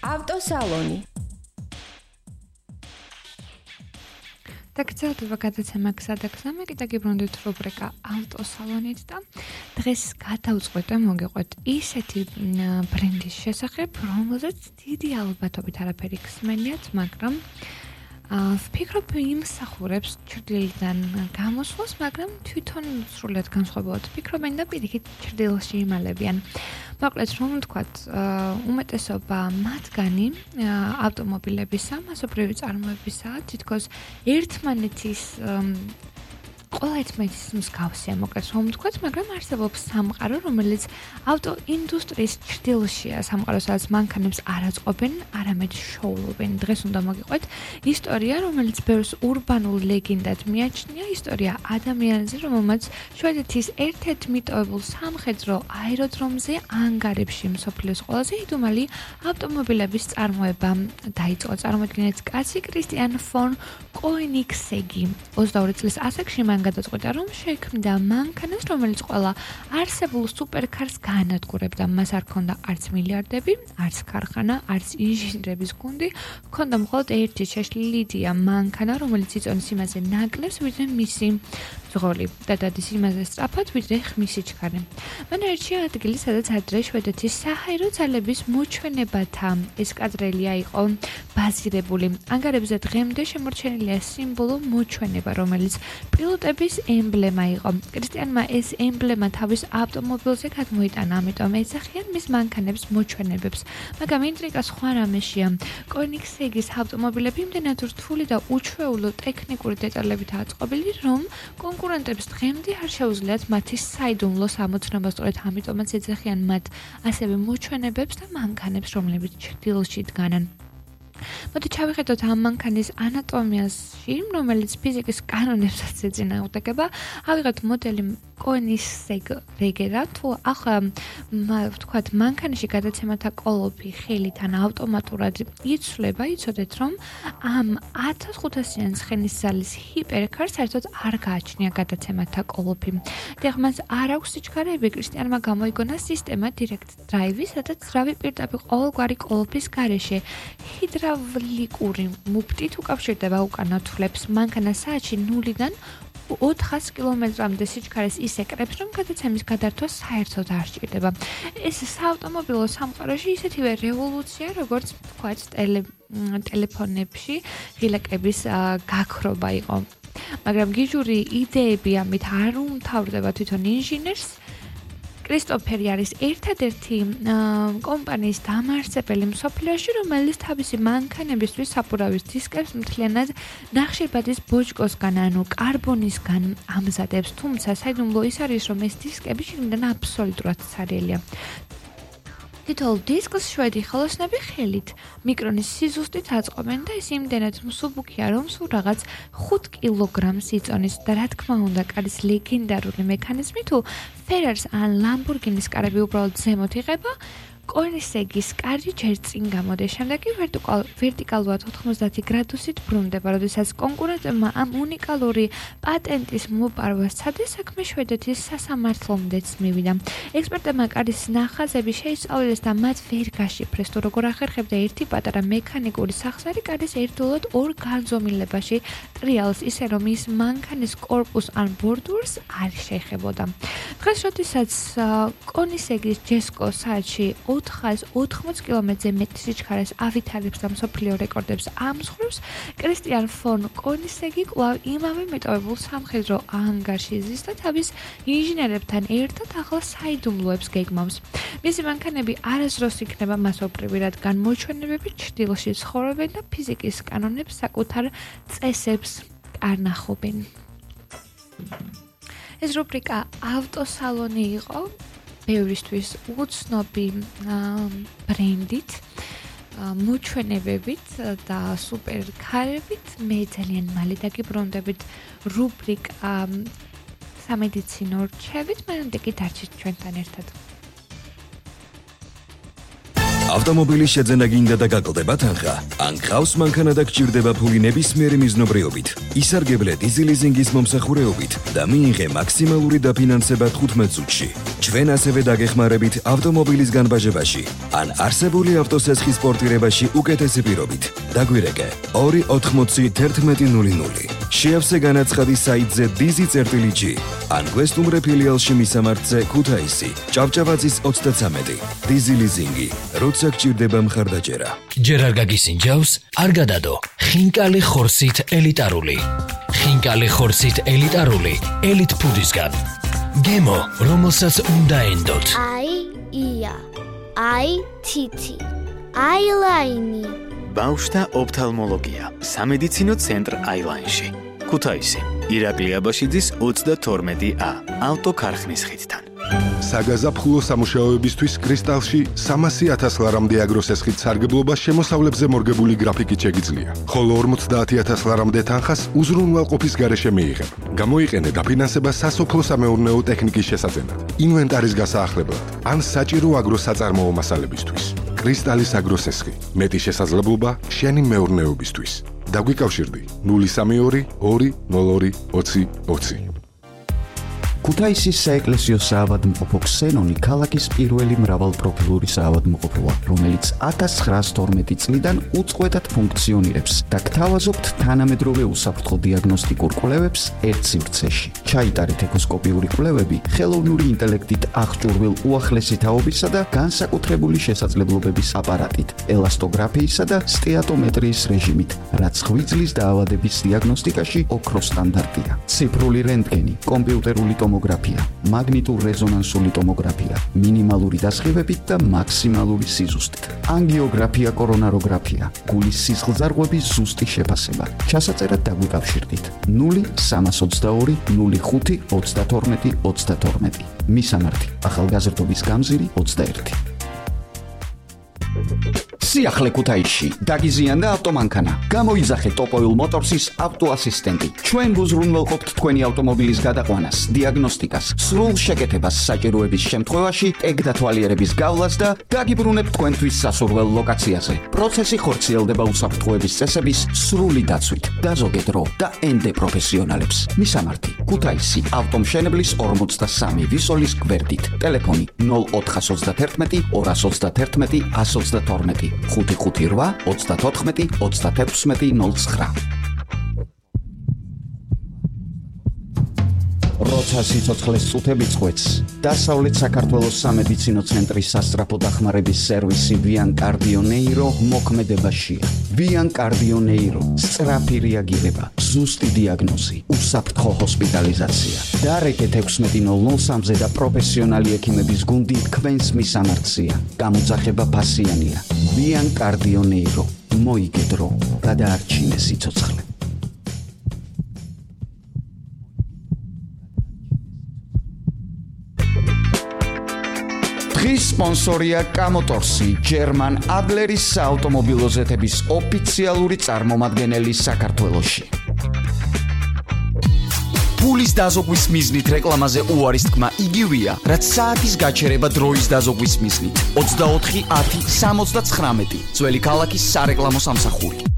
ავტოსალონი. დაგრძელდება გადაცემა გზადაგზამი, კიდე გიბრუნდით რუბრიკა ავტოსალონით და დღეს გადავწყვეტე მოგიყვეთ ისეთი ბრენდის შესახებ, რომელზეც დიდი ალბათობით არაფერი გსმენიათ, მაგრამ ვფიქრობ იმსახურებს ჩრდილიდან გამოსვლას, მაგრამ თვითონ სრულად განსხვავებულად ფიქრობენ და პირიქით ჩრდილში იმალებიან. მოკლედ რომ ვთქვათ, უმეტესობა მათგანი ავტომობილებისა, მასობრივი წარმოებისაა, თითქოს ერთმანეთის ყველა ერთმანეთის მსგავსია, მოკლედ რომ ვთქვათ, მაგრამ არსებობს სამყარო, რომელიც ავტოინდუსტრიის ჩრდილშია, სამყარო, სადაც მანქანებს არ აწყობენ, არამედ შოულობენ. დღეს უნდა მოგიყვეთ ისტორია, რომელიც ბევრს ურბანულ ლეგენდად მიაჩნია, ისტორია ადამიანზე, რომელმაც შვედეთის ერთ-ერთ მიტოვებულ სამხედრო აეროდრომზე ანგარებში მსოფლიოს ყველაზე იდუმალი ავტომობილების წარმოება დაიწყო. წარმოიდგინეთ, კაცი კრისტიან ფონ კოენიგსეგი 22 წლის ასაკში მან გადაწყვეტა, რომ შექმნიდა მანქანას, რომელიც ყველა არსებულ სუპერკარს გაანადგურებდა. მას არ ჰქონდა არც მილიარდები, არც ქარხანა, არც ინჟინრების გუნდი, ჰქონდა მხოლოდ ერთი შეშლილი იდეა, მანქანა, რომელიც იწონის იმაზე ნაკლებს, ვიდრე მისი მძღოლი და დადის იმაზე სწრაფად, ვიდრე ხმისი ჩქარი. მან ერჩია ადგილი, სადაც ადრე შვედეთის საჰაერო ძალების მოჩვენებათა ესკადრილია იყო ბაზირებული. ანგარებზე დღემდე შემორჩენილია სიმბოლო მოჩვენება, რომელიც პილოტების ემბლემა იყო. კრისტიანმა ეს ემბლემა თავის ავტომობილზე გადმოიტანა, ამიტომ ეძახიან მის მანქანებს მოჩვენებებს. მაგრამ ინტრიგა სხვა რამეშია. კოენიგსეგის ავტომობილები იმდენად რთული და უჩვეულო ტექნიკური დეტალებითაა აწყობილი, რომ კონკურენტებს დღემდე არ შეუძლიათ მათი საიდუმლოს ამოცნობა, სწორედ ამიტომაც ეძახიან მათ ასევე მოჩვენებებს და მანქანებს, რომლებიც ჩრდილში დგანან. მოდი ჩავიხედოთ ამ მანქანის ანატომიაში, რომელიც ფიზიკის კანონებსაც ეწინააღმდეგება. ავიღოთ მოდელი კოენიგსეგ რეგერა, თუ ახლა ვთქვათ, მანქანის გადაცემათა კოლოფი ხელით ან ავტომატურად იცვლება, იცოდეთ, რომ ამ 1500-იან ცხენის ზალის ჰიპერკარს საერთოდ არ გააჩნია გადაცემათა კოლოფი. დიახ, მას არ აქვს სიჩქარეები, კრისტიანმა გამოიგონა სისტემა Direct Drive, სადაც ძრავი პირდაპირ ყოველგვარი კოლოფის გარეშე ჰიდრავლიკური მუფტით უკავშირდება უკან ნათვლებს. მანქანა საათში 0-დან 400 კილომეტრამდე სიჩქარეს ისე კრებს, რომ გადაცემის გადართვა საერთოდ არ სჭირდება. ეს საავტომობილო სამყაროში ისეთივე რევოლუცია, როგორც თქვათ, ტელეფონებში ღილაკების გაქრობა იყო. მაგრამ გიჟური იდეები ამით არ უმთავრდება თვითონ ინჟინერს. კრისტოფერი არის ერთადერთი კომპანიის დამაარსებელი მსოფლიოში, რომელიც თავისი მანქანებისთვის საფურავის დისკებს მთლიანად ნახშირბადის ბოჭკოსგან, ანუ კარბონისგან ამზადებს, თუმცა საიდუმლო ის არის, რომ ეს დისკები შიგნიდან აბსოლუტურად ცარიელია. თითოეულ დისკს შვედი ხელოსნები ხელით მიკრონის სიზუსტით აწყობენ და ეს იმდენად მსუბუქია, რომ სულ რაღაც 5 კილოგრამს იწონის და რა თქმა უნდა, კარის ლეგენდარული მექანიზმი თუ ფერარის ან ლამბორგინის კარები უბრალოდ ზემოთ იღება, კოენიგსეგის კარი ჯერ წინ გამოდის, შემდეგ კი ვერტიკალურად 90 გრადუსით ბრუნდება, როდესაც კონკურენტებმა ამ უნიკალური პატენტის მოპარვას სცადეს, საქმე შვედეთის სასამართლომდეც მივიდა. ექსპერტებმა კარის ნახაზები შეისწავლეს და მათ ვერ გაშიფრეს, თუ როგორ ახერხებდა ერთი პატარა მექანიკური სახსარი კარის ერთდროულად ორ განზომილებაში ტრიალს, ისე რომ ის მანქანის კორპუსს ან ბორდურს არ შეეხებოდა. დღეს, როდესაც კოენიგსეგის ჯესკო საათში 480 კილომეტრზე მეტ სიჩქარეს ავითარებს და მსოფლიო რეკორდებს ამსხვრევს, კრისტიან ფონ კოენიგსეგი კვლავ იმავე მეტოვებულ სამხედრო ანგარში ზის და თავის ინჟინერებთან ერთად ახალ საიდუმლოებს გეგმავს. მისი მანქანები არასდროს იქნება მასობრივი, რადგან მოჩვენებები ჩრდილში ცხოვრობენ და ფიზიკის კანონებს საკუთარ წესებს არ ნახობენ. ეს რუბრიკა ავტოსალონი იყო. ბევრისთვის უცნობი ბრენდით, მოჩვენებებით და სუპერკარებით. მე ძალიან მალე დაგიბრუნდებით რუბრიკა სამედიცინო რჩევით, მანამდე კი დარჩით ჩვენთან ერთად. ავტომობილის შეძენა გინდა და გაკლდება თანხა, ან გყავს მანქანა და გჭირდება ფული ნებისმიერი მიზნობრიობით. ისარგებლე დიზელიზინგის მომსახურეობით და მიიღე მაქსიმალური დაფინანსება 15 წუთში. ჩვენ ასევე დაგეხმარებით ავტომობილის განბაჟებაში, ან არსებული ავტოსესხის პორტირებაში უკეთესი პირობით. დაგვირეკე 2801100. შეავსე განაცხადი საიტზე dizi.g ან გვესტუმრე ფილიალში მისამართზე ქუთაისი, ჭავჭავაძის 33. დიზელიზინგი, როცა გჭირდება მხარდაჭერა. ჯერ არ გაგისინჯავს, არ გადადო. ხინკალი ხორცით ელიტარული. ხინკალი ხორცით ელიტარული, ელიტ ფუდისგან. გემო, რომელსაც უნდა ენდოთ. ია, თითი, აილაინი. ბავშვთა ოფთალმოლოგია, სამედიცინო ცენტრ აილაინში. ქუთაისი, ირაკლი აბაშიძის 32A, ავტოქარხნის ხიდთან. საგაზაფხულო სამუშაოებისთვის კრისტალში 300,000 ლარამდე აგროსესხით სარგებლობა შემოსავლებზე მორგებული გრაფიკით შეგიძლია. ხოლო 50,000 ლარამდე თანხას უზრუნველყოფის გარეშე მიიღებ. გამოიყენე დაფინანსება სასოფლო-სამეურნეო ტექნიკის შესაძენად, ინვენტარის გასაახლებლად, ან საჭირო აგროსაწარმოო მასალებისთვის. კრისტალის აგროსესხი, მეტი შესაძლებლობა შენი მეურნეობისთვის. დაგვიკავშირდი 032 202 20 20. ქუთაისის საეკლესიო საავადმყოფო ქსენონი ქალაქის პირველი მრავალპროფილური საავადმყოფოა, რომელიც 1912 წლიდან უწყვეტად ფუნქციონირებს და გთავაზობთ თანამედროვე უსაფრთხო დიაგნოსტიკურ კვლევებს ერთ სივრცეში. ჩაიტარეთ ეკოსკოპიური კვლევები ხელოვნური ინტელექტით აღჭურვილ უახლესი თაობისა და განსაკუთრებული შესაძლებლობების აპარატით, ელასტოგრაფიისა და სტეატომეტრიის რეჟიმით, რაც ღვიძლის დაავადების დიაგნოსტიკაში ოქროს სტანდარტია. ციფრული რენტგენი, კომპიუტერული ტომოგრაფია, მაგნიტურ-რეზონანსული ტომოგრაფია, მინიმალური დასხივებით და მაქსიმალური სიზუსტით. ანგიოგრაფია, კორონაროგრაფია, გულის სისხლძარღვების ზუსტი შეფასება. ჩასაწერად დაგვიკავშირდით 0322 05 32 32. მისამართი: ახალგაზრდობის გამზირი 21. სიახლე ქუთაისში დაგიზიანდა ავტომანქანა. გამოიძახე ტოპოილ მოტორსის ავტოასისტენტი. ჩვენ გუზრუნველყოფთ თქვენი ავტომობილის გადაყვანას, დიაგნოსტიკას, სრულ შეკეთებას საჭიროების შემთხვევაში, ტეგ დათვალიერების გავლას და დაგიბრუნებთ თქვენთვის სასურველ ლოკაციაზე. პროცესი ხორციელდება უსაფრთხოების წესების სრული დაცვით. დაზოგე დრო და ენდე პროფესიონალებს. მისამართი: ქუთაისი, ავტომშენებლის 43 ვისოლის გვერდით. ტელეფონი 0431 231 122. 558 34 36 09. როცა სიცოცხლეს წუთები წყვეტს, დასავლეთ საქართველოს სამედიცინო ცენტრის სასწრაფო დახმარების სერვისი Vian Cardio Neuro მოქმედებაშია. Vian Cardio Neuro, სწრაფი რეაგირება, ზუსტი დიაგნოზი, უსაფრთხო ჰოსპიტალიზაცია. დარეკეთ 16:03-ზე და პროფესიონალი ექიმების გუნდი თქვენს მისამართზეა. გამოძახება ფასიანია. Vian Cardio Neuro, მოიგე დრო, გადაარჩინე სიცოცხლე. დღის სპონსორია კამოტორსი, ჯერმან ადლერის საავტომობილო ზეთების ოფიციალური წარმომადგენელი საქართველოში. ფულის დაზოგვის მიზნით რეკლამაზე უარის თქმა იგივეა, რაც საათის გაჩერება დროის დაზოგვის მიზნით. 24 10 79 ძველი ქალაქის სარეკლამო სამსახური.